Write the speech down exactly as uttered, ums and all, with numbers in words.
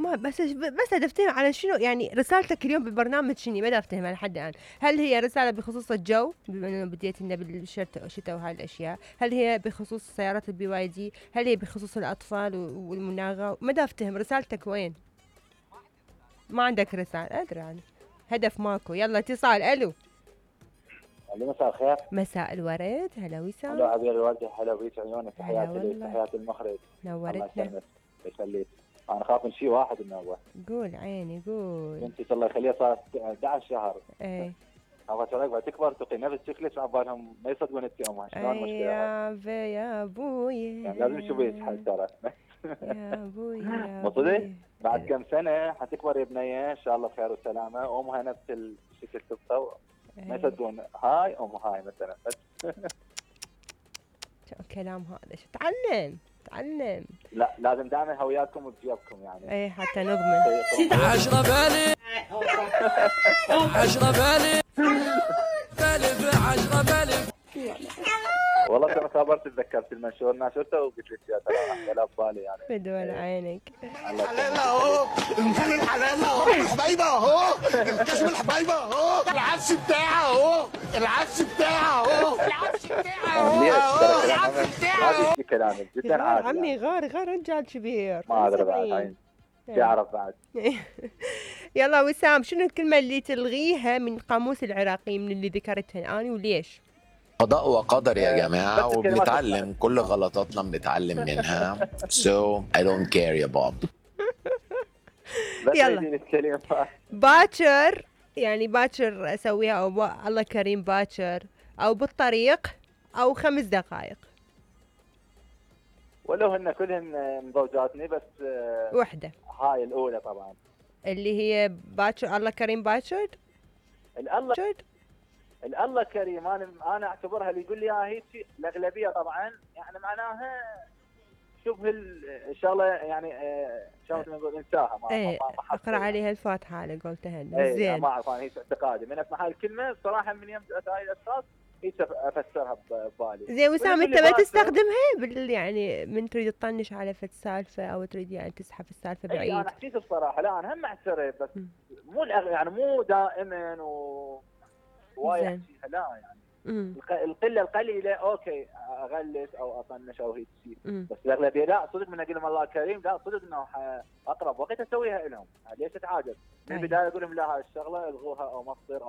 ما بس بس افتهم على شنو يعني رسالتك اليوم بالبرنامج شنو ما افتهمها لحد الان. هل هي رساله بخصوص الجو بما انه بديت لنا بالشتاء والشتاء وهاي الاشياء؟ هل هي بخصوص سيارات البي واي دي؟ هل هي بخصوص الاطفال والمناغه؟ ما افتهم رسالتك وين. ما عندك رساله ادري يعني هدف ماكو. يلا اتصال. الو مساء الخير. مساء الورد. هلا وسام. هلا عبير الوردة. هلا بيك عيونك. تحياتي لك تحياتي المخرج. نورتنا. الله يسلمك. انا خاف من شيء واحد انه هو قول عيني قول. بنتي الله يخليها صارت احد عشر شهر. ايه ابغى شريك بعد تكبر تقي نفس شكلك على بالهم ما يصدقون انت امها. شلون المشكله؟ يا في يا ابوي يعني لازم نشوف يتحل ترى. يا ابوي يا مو صدق؟ ابوي. بعد كم سنه حتكبر يا بنيه ان شاء الله بخير وسلامه امها نفس الشكل تبقى ما يصدقون هاي ام هاي مثلا. بس شو الكلام هذا؟ شو تعلم تعلم. لا لازم دائما هوياكم وبجيبكم يعني. ايه حتى نضمن. عشرة بالي عشرة بالي بالي عشرة بالي. والله ترى خبرت تذكرت المنشور ناشرته وقلت لك يا ترى ولا ببالي يعني. بدون عينك. الحلال اهو المكان الحلال اهو الحبايبه اهو الكشف الحبايبه اهو العفش بتاعه اهو العفش بتاعه اهو العفش بتاعه اهو العفش بتاعه اهو. هذا كلامك جدا عادي. عمي غار غار رجال كبير. ما ادري بعد تعرف بعد. يلا وسام شنو الكلمه اللي تلغيها من قاموس العراقي من اللي ذكرتها الان وليش؟ قضاء وقدر يا جماعة وبنتعلم كل غلطاتنا بنتعلم منها. So I don't care يا باب. يلا باكر يعني باكر اسويها او با... الله كريم باكر او بالطريق او خمس دقائق. ولو هن كلهن مزوجاتني بس وحدة هاي الاولى طبعا اللي هي باكر الله كريم باكر. الله الله كريم انا انا اعتبرها اللي يقول لي ها هيك الاغلبيه طبعا يعني معناها شبه الشغله يعني شلون نقول انساها ما ايه ما اقرا عليها الفاتحه على قولتها ايه زين. ما اعرف انا هيك اعتقادي من اسمع الكلمه صراحه من يوم هاي الاشخاص هيك افسرها ببالي. زين وسام انت ما تستخدمها بال يعني من تريد تطنش على فد سالفه او تريد يعني تسحب السالفه بعيد؟ اي انا حكيت بصراحه لا انا هم اعترف بس م. مو يعني مو دائما و وايد لا يعني مم. القله القليله اوكي اغلس او اطنش او هيك شيء بس الاغلبيه لا صدق من اقول لهم الله كريم لا صدق انه اقرب وقت اسويها لهم ليش اتعاجل من البدايه اقول لهم لا هاي الشغله الغوها او ما تصير